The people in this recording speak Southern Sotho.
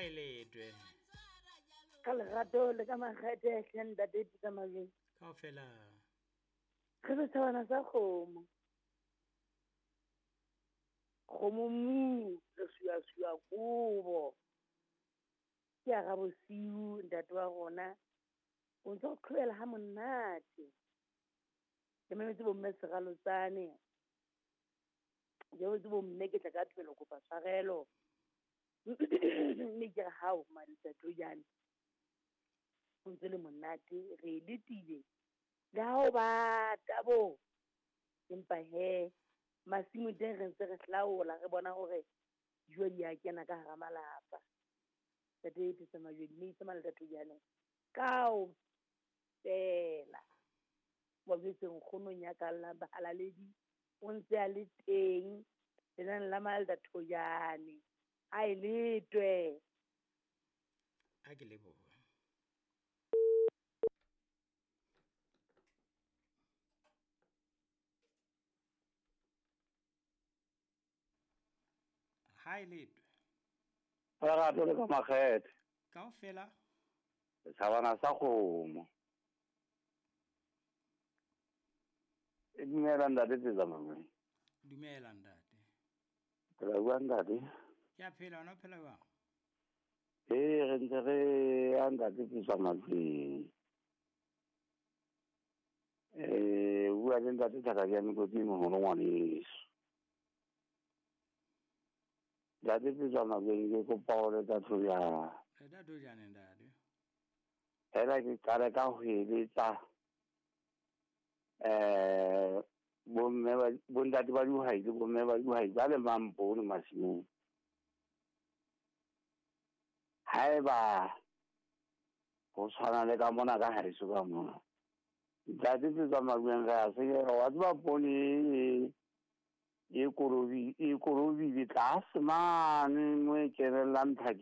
Ha e letwe. Ka lerato le ka makgethe hle ntate Peter Majweng. Kaofela. Re setjhabana sa kgomo. Kgomo mu re suasua kobo. Ke ya ga bosiu ntate wa rona. O ntse o qhobela ha monate. Ke mametse bomme Seralotsane. Ke mametse bomme ke tla ka thobelo kopa tshwarelo. Mme ke re hao Maletsatojane. O ntse le monate re letile. Le ha o bata bo. Empa he masimo teng re ntse re hlaola re bona hore dijo di a kena ka hara malapa. Ntate Peter Majweng mme itse Maletsatojane. Kao fela. Wa jwetse nkgonong ya ka la bahalaledi o ntse a le teng lenane la Maletsatojane. Ha e letwe. A ke lebohe. Ha e letwe. Lerato le ka makgethe. Kaofela. Setjhabana sa kgomo. E dumela ntate Tsetsa Majweng. Dumela ntate. Phela jwang ntate? Ke a phela, wena o phela jwang? Ee, re ntse re ya ntate Tsetsa Majweng. Bua le ntate Thaka ke ya Mekoti moholo ngwaneso. Ntate Tsetsa Majweng ke kopa ho leta thojana. Leta thojana ntate. Fela ke qale ka ho eletsa bomme ba bontate ba dihwai le bomme ba dihwai ba lemang poone masimong. Haeba ho tshwana le ka mona ka haeso ka mona. Ntate Tsetsa Majweng re a senyeha wa tseba poone e korobile tlase mane mo e kenellang tlhakeng.